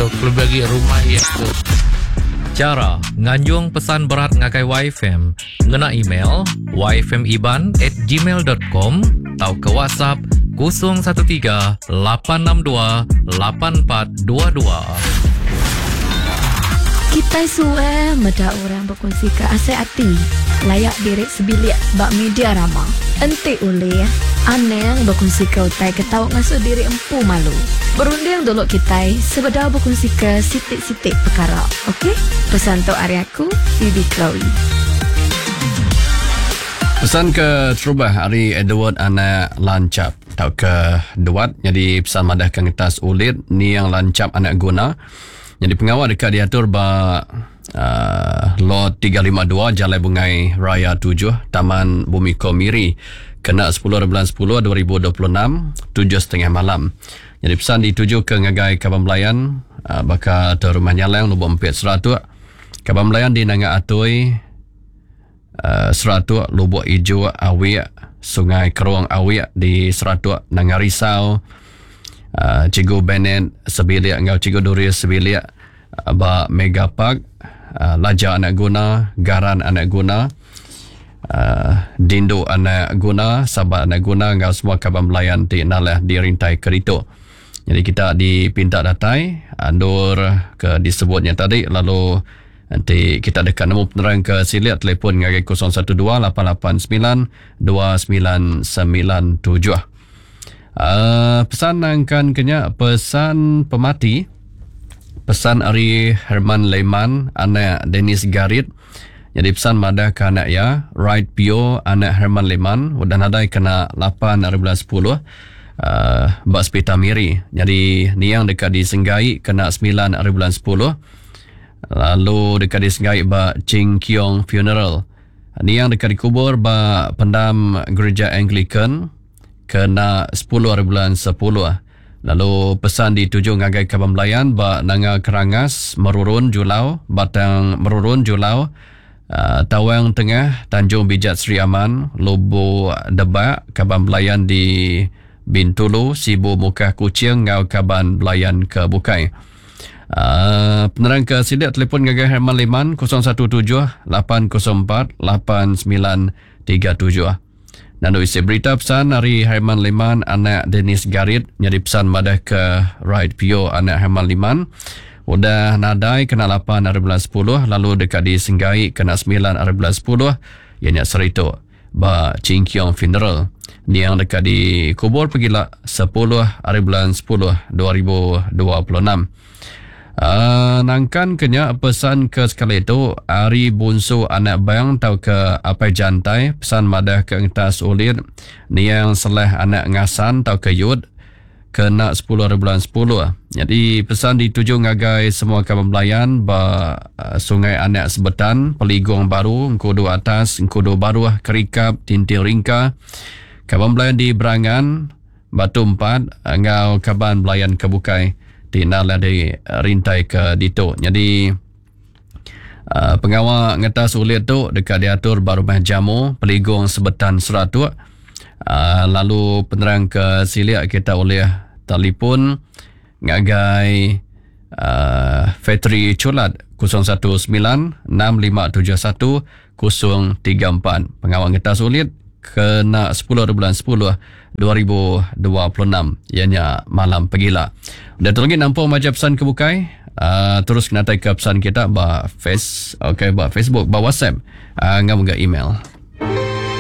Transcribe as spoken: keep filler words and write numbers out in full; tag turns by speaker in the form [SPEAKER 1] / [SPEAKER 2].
[SPEAKER 1] tu, kelebih agi rumah iya tu.
[SPEAKER 2] Chara nganjung pesan berat ngagai Y F M ngena email y f m iban at gmail dot com atau ke WhatsApp kosong satu tiga lapan enam dua lapan empat dua dua.
[SPEAKER 3] Kita suwe meda orang berkongsi ke asai ati layak diri sebilik bak media rama. Enti ulih aneng berkongsi ke utai ke tau ngasuh diri empu malu. Berunding dulu kita sebedau berkongsi ke sitik-sitik perkara. Okey? Pesan tu ari aku, Bibi Chloe.
[SPEAKER 4] Pesan ke terubah hari Edward anak lancap tau ke duat jadi pesan madah ke ngetas ulit niang lancap anak guna. Jadi pengawal dekat diatur ba uh, lot tiga lima dua Jalai Bungai Raya tujuh Taman Bumi Komiri kena sepuluh bulan sepuluh dua ribu dua puluh enam tujuh setengah malam. Jadi pesan dituju ke ngagai Kaban Belayan uh, baka ke rumah Nyalang Lubuk Empit Seratuk. Kaban Belayan di Nanga Atoi uh, Seratuk Lubuk Ijo Awik Sungai Kerong Awik di Seratuk Nanga Risau. Uh, Cikgu Bennett sebilik ngau Cikgu Doris sebilik uh, ba Mega Park, uh, Laja anak guna, Garan anak guna, uh, Dindu anak guna, Sabat anak guna ngau semua kaban belayan ti nalah dirintai kerito. Jadi kita dipinta datai andur ke disebutnya tadi, lalu nanti kita dekat nemu penerang ke siliat telefon ngagai kosong satu dua lapan lapan sembilan dua sembilan sembilan tujuh. Uh, pesan nangkan kenya pesan pemati, pesan ari Herman Lehman anak Dennis Garit. Jadi pesan madah ke anak ya Right Pio anak Herman Lehman udah nadai kena lapan hari bulan sepuluh uh, bak sepita Miri. Jadi niang dekat disenggai kena sembilan hari bulan sepuluh, lalu dekat disenggai bak Ching Kiong Funeral. Niang dekat dikubur bak pendam gereja Anglican kena sepuluh hari bulan sepuluh. Lalu pesan dituju ngagai Kaban Belayan ba Nanga Kerangas, Merurun Julau, Batang Merurun Julau, uh, Tawang Tengah, Tanjung Bijat Sri Aman, Lubuk Debak, Kaban Belayan di Bintulu, Sibu Mukah Kuching ngau Kaban Belayan ke Bukai. Uh, penerang ke sidik telefon ngagai Herman Liman kosong satu tujuh lapan kosong empat lapan sembilan tiga tujuh. Nandu isi berita pesan hari Herman Liman anak Dennis Garit nyadi pesan madah ke Right Pio anak Herman Liman udah nadai kena lapan hari bulan sepuluh, lalu dekat disenggai kena sembilan hari bulan sepuluh ianya serito ba Ching Kiong Funeral. Niang dekat dikubur pergilah sepuluh hari bulan sepuluh dua ribu dua puluh enam. Uh, nangkan kenya pesan ke sekali itu Ari Bunsu anak bang tau ke apai jantai pesan madah ke engtas ulit niang seleh anak ngasan tau ke yud kena sepuluh hari bulan sepuluh. Jadi pesan dituju ngagai semua kaban belayan ba uh, Sungai Anak Sebetan, Peligong Baru, Engkudu Atas, Engkudu Baru, Kerikap, Tinting Ringka, kaban belayan di Berangan, Batu Empat, ngau kaban belayan ke Bukai tina lah di rintai ke ditu. Jadi uh, pengawal ngetas ulit tu dekat diatur baru rumah jamu Peligong Sebetan Seratuk. Uh, lalu penerang ke siliak kita oleh telefon ngagai uh, Fetri Culat kosong satu sembilan enam lima tujuh satu kosong tiga empat. Pengawal ngetas ulit kena sepuluh bulan sepuluh dua ribu dua puluh enam ianya malam pegila. Dan tu lagi nampung macam pesan ke bukai, uh, terus kena ke pesan kita ba face, okey, ba Facebook, ba WhatsApp, uh, ngam ga email.